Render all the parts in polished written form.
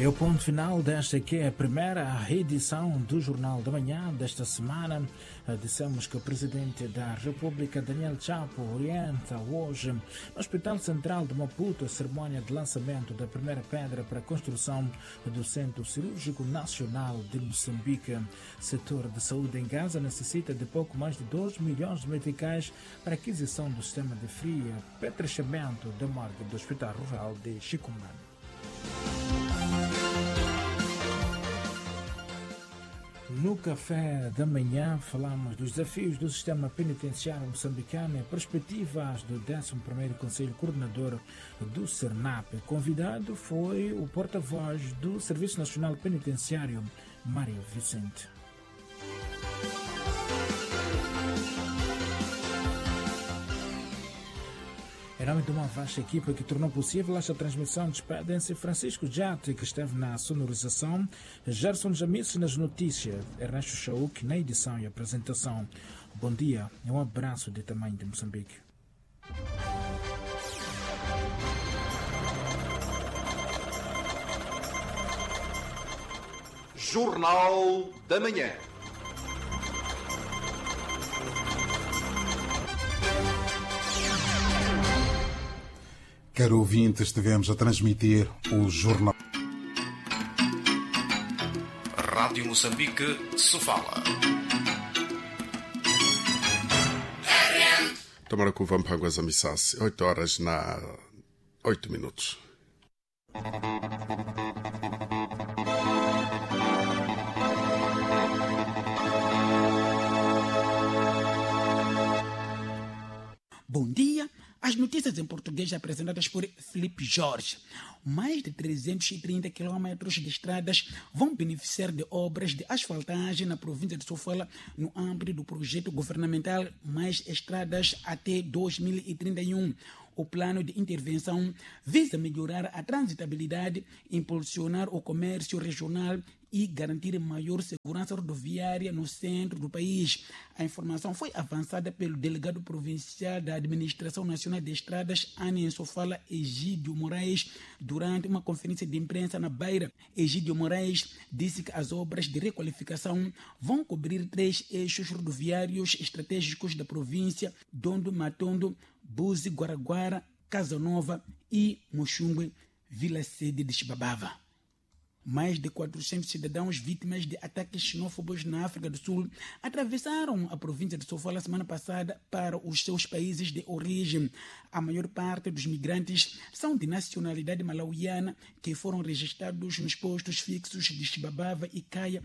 É o ponto final desta que é a primeira edição do Jornal da Manhã desta semana. Dissemos que o Presidente da República, Daniel Chapo, orienta hoje no Hospital Central de Maputo a cerimônia de lançamento da primeira pedra para a construção do Centro Cirúrgico Nacional de Moçambique. Setor de saúde em Gaza necessita de pouco mais de 2 milhões de meticais para a aquisição do sistema de fria apetrechamento da morgue do Hospital Rural de Chicumbane. No café da manhã falamos dos desafios do sistema penitenciário moçambicano e perspectivas do 11º Conselho Coordenador do SERNAP. Convidado foi o porta-voz do Serviço Nacional Penitenciário, Mário Vicente. Em nome de uma vasta equipa que tornou possível esta transmissão, despedem-se Francisco Jate, que esteve na sonorização, Gerson Jamice nas notícias, Ernesto Chauk na edição e apresentação. Bom dia e um abraço de tamanho de Moçambique. Jornal da Manhã. Caro ouvinte, estivemos a transmitir o Jornal. Rádio Moçambique, Sofala. Tomara kuva mphangwa za misasi 8 horas na 8 minutos. Bom dia. As notícias em português apresentadas por Felipe Jorge. Mais de 330 quilômetros de estradas vão beneficiar de obras de asfaltagem na província de Sofala no âmbito do projeto governamental Mais Estradas até 2031. O plano de intervenção visa melhorar a transitabilidade, impulsionar o comércio regional e garantir maior segurança rodoviária no centro do país. A informação foi avançada pelo delegado provincial da Administração Nacional de Estradas, Ana Sofala Egídio Moraes, durante uma conferência de imprensa na Beira. Egídio Moraes disse que as obras de requalificação vão cobrir três eixos rodoviários estratégicos da província: Dondo Matondo, Buzi, Guaraguara, Casa Nova e Moxungue, Vila Sede de Chibabava. Mais de 400 cidadãos vítimas de ataques xenófobos na África do Sul atravessaram a província de Sofala semana passada para os seus países de origem. A maior parte dos migrantes são de nacionalidade malauiana que foram registrados nos postos fixos de Chibabava e Caia,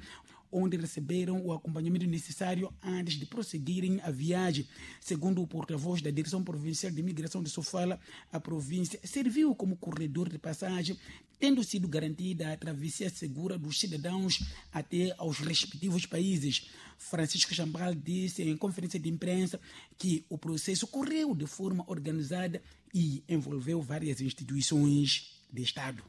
onde receberam o acompanhamento necessário antes de prosseguirem a viagem. Segundo o porta-voz da Direção Provincial de Imigração de Sofala, a província serviu como corredor de passagem, tendo sido garantida a travessia segura dos cidadãos até aos respectivos países. Francisco Chambal disse em conferência de imprensa que o processo correu de forma organizada e envolveu várias instituições de Estado.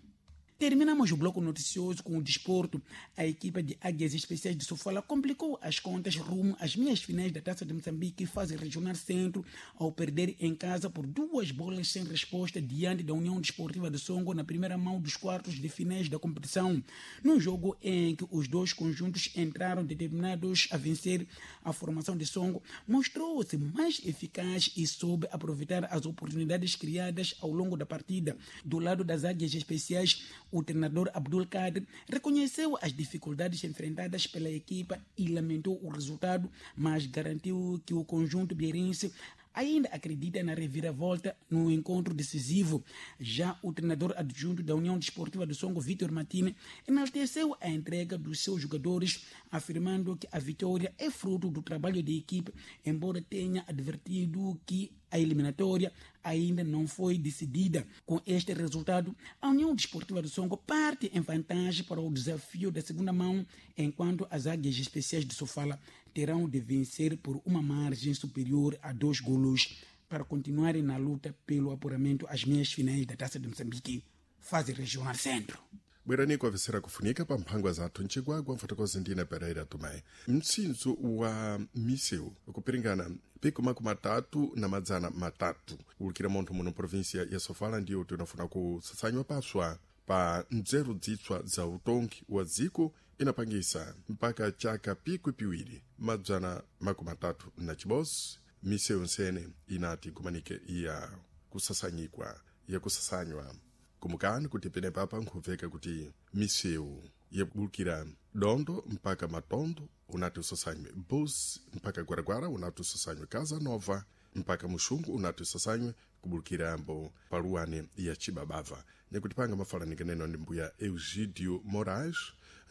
Terminamos o bloco noticioso com o desporto. A equipa de Águias Especiais de Sofala complicou as contas rumo às meias finais da Taça de Moçambique, fase regional centro, ao perder em casa por 2 bolas sem resposta diante da União Desportiva de Songo na primeira mão dos quartos de finais da competição. Num jogo em que os dois conjuntos entraram determinados a vencer, a formação de Songo mostrou-se mais eficaz e soube aproveitar as oportunidades criadas ao longo da partida. Do lado das Águias Especiais, o treinador Abdul Kader reconheceu as dificuldades enfrentadas pela equipa e lamentou o resultado, mas garantiu que o conjunto beirense ainda acredita na reviravolta no encontro decisivo. Já o treinador adjunto da União Desportiva do Songo, Vítor Martini, enalteceu a entrega dos seus jogadores, afirmando que a vitória é fruto do trabalho da equipe, embora tenha advertido que a eliminatória ainda não foi decidida. Com este resultado, a União Desportiva do Songo parte em vantagem para o desafio da segunda mão, enquanto as Águias Especiais de Sofala terão de vencer por uma margem superior a 2 golos para continuarem na luta pelo apuramento às meias finais da Taça de Moçambique, fase regional centro. Bwerani kwavesera kufunika pa mphangwa zathu ncigwagwa mfotokozi ndine Pereira Tomé. Mtsinzo wa miseu kupiringana pico makumi atatu na madzana matatu ulikira munthu muno província ya Sofala ndiyo tinafuna kusatsanywa paswa. Pa nzeru zitswa za utongi wa dziko inapangisa mpaka chaka pikwi piwiri madzana makumi atatu na chibodzi misewu nsene inati igumanike ya kusasanyikwa yakusasanywa. Kumukani kuti penepapa nkhubveka kuti misewu yakubulukira Dondo mpaka Matondo unati usasanywe, Bus mpaka Gwaragwara unati usasanywe, Casa Nova mpaka Muxungu unati usasanywe, kubulukirambo paluwane ya Chibabava. Nyakuti panga mafalanika neno ndi mbuya Eugidio Moraes,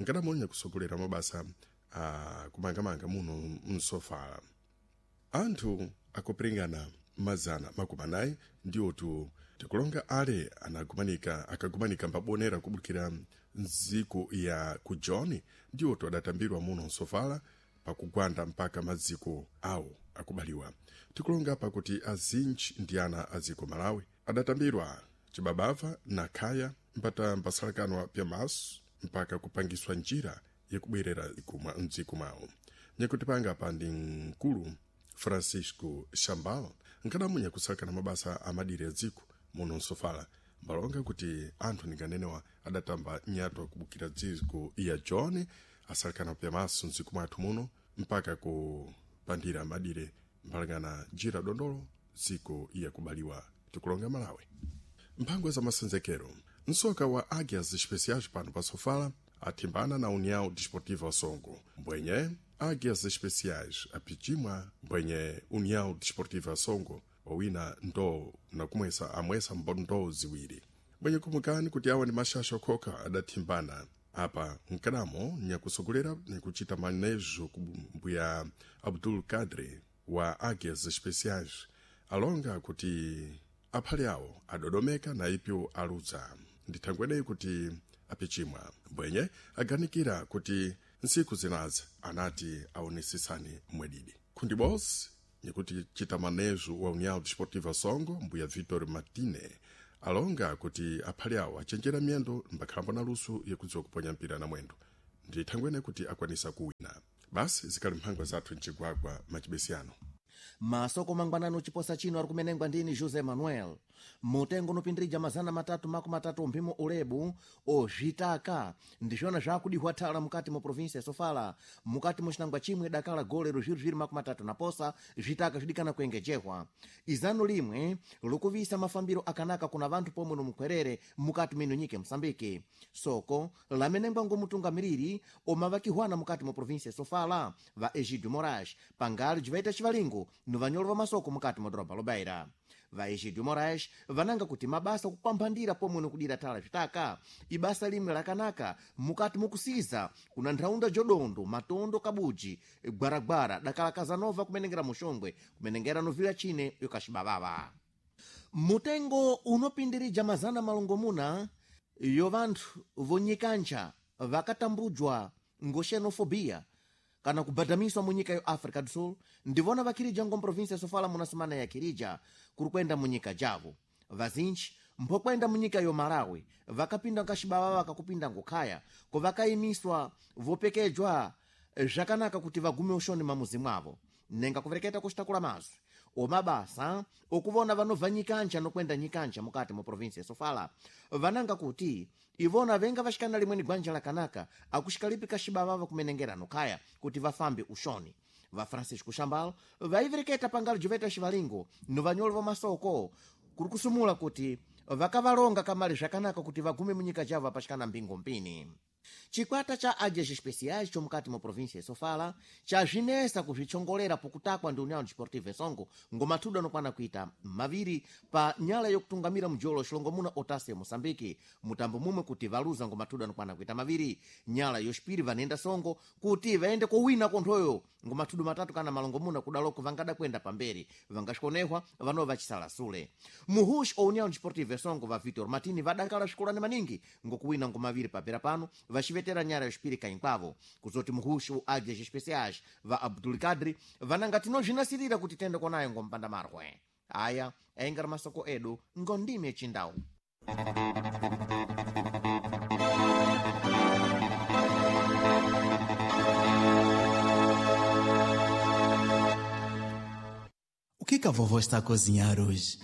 nkadamonya kusogolera mabasa a kumangamanga muno msofala. Anthu akupiringana 400 ndiwotu tikulonga ale anagumanika akagumanika mbabonera kubulukira nziko ya kujoni ndiwotu adatambirwa muno msofala pakugwanda mpaka maziko awo akubaliwa. Tikulonga pakuti azinji ndi ana aziko Malawi adatambirwa Chibabava na Khaya mpata mbasalakanwa pyamaso mpaka kupangiswa njira yakubwerera mdziko mwawo. Nyakuti panga pa ndi mkulu Francisco Shambal nkadamunya kusalakana mabasa amadiri ya dziko muno msofala, mbalonga kuti anthu ndinganenewa adatamba nyatwa kubukira dziko ya John asalakana pyamaso mdziko mwathu muno mpaka kupandira madire mpalangana njira dondolo dziko yakubaliwa tikulonga Malawi. Mphangwa za masenzekero msoka wa Águias Especiais pano pa Sofala athimbana na União Desportiva Songo. Mbwenye Águias Especiais apichimwa mbwenye União Desportiva Songo wawina ndo nakumwesa amwesa mbondo ziwiri. Mbwenye kumukani kuti awa ni mashasha okhoka adathimbana apa mkanamo nyakusogolera nyakuchita manejo kumbuya Abdul Kadri wa Águias Especiais alonga kuti aphale awo adodomeka na ipyo aludza ndithangweneyi kuti apichimwa. Mbwenye aganikira kuti ntsiku zinazi anati aonesesane mwedidi. Khundi bosi nyakuti chita manejo wa União Desportiva Songo mbuya Vitor Martine alonga kuti aphale awo achenjera miyendo mbakhalambo na luso yakudziwa kuponya mpira na mwendo ndithangwene kuti akwanisa kuwina. Basi zikali mphangwa zathu mchigwagwa machibesiyano. Masoko mangwanano chiposa chino ari kumenengwa ndini José Manuel. Mutengo unopindirija 330 mphimo ulebu ozvitaka ndizvona zvakudihwa thala mukati mu provinsia ya Sofala mukati mu cinangwa chimwe dakala golero zvirizviri 30 na posa zvitaka zvidikana kuengejehwa. Izano limwe likuvisa mafambiro akanaka kuna vanthu pomwe nomukwerere mukati mino nyika ya Mosambiki. Soko lamenengwa ngomutungamiriri omavakihwana mukati mu provinsia ya Sofala va Egidio Moraes pangali bzivaita civalingo nuvanyolo va masoko mukati mwa doroba lobaira. Va Egidio Moraes vananga kuti mabasa okupamphandira pomwe nokudira thala zvitaka ibasa limwe lakanaka mukati mukusiza kuna ntharaunda jodondo matondo kabuji gwaragwara dakala Kazanova kumenengera muxongwe kumenengera novila chine yokaxibavava. Mutengo unopindirija 600 yo vanthu vonyikancha vakatambujwa ngo xenofobia kana kubadamiswa mu nyika yo África do Sul ndivona vakhirija ngo província ya Sofala muna semana ya khirija kuri kwenda mu nyika javo. Vazinji mphokwenda mu nyika yo Malawi vakapinda nkaxibava vakakupinda ngokhaya ko vakayimiswa vopekejwa zvakanaka kuti vagume uxoni mamuzi mwavo. Nenga kuvereketa kuxitakula mazwi omabasa okuvona vanobva nyikanja nokwenda nyikanja mukati mu província ya Sofala vananga kuti ivona venga vaxikana limweni gwanja lakanaka akuxikalipi kaxibavava kumenengera nokhaya kuti vafambe uxoni. Va Francisco Shambal vaivereketa pangali joveta xivalingo novanyolo va masoko kuri kusumula kuti vakavalonga kamali zvakanaka kuti vagume munyika javo apaxikana mbingo mpini. Chikwata cha Águias Especiais chomukati mu província ya Sofala chazvinesa kuzvichongolera pokutakwa ndi União Desportiva Songo ngomathudu anokwana kuita maviri pa nyala yokutungamira mjolo xilongomuna otasi ya Moçambique mutambo mumwe kuti valuza ngomathudu anokwana kuita maviri. Nyala yoxipiri vanenda Songo kuti vaende kowina konthoyo ngomathudu matatu kana malongomuna kudaloko vangada kuenda pamberi vangaxikonehwa vanova vachisala sule. Muhuxi o União Desportiva Songo va Vitor Martini vadakala swikolani maningi ngokuwina ngomaviri papera pano vaxivetera nyara yoxipiri kainkwavo. Kuzoti muhuxi o Águias Especiais va Abdul Kadri vananga tinozvinasirira kuti tende konayo ngompanda marwe. Aya aingari masoko edu ngondimi yechindau. O que que a vovó está a cozinhar hoje?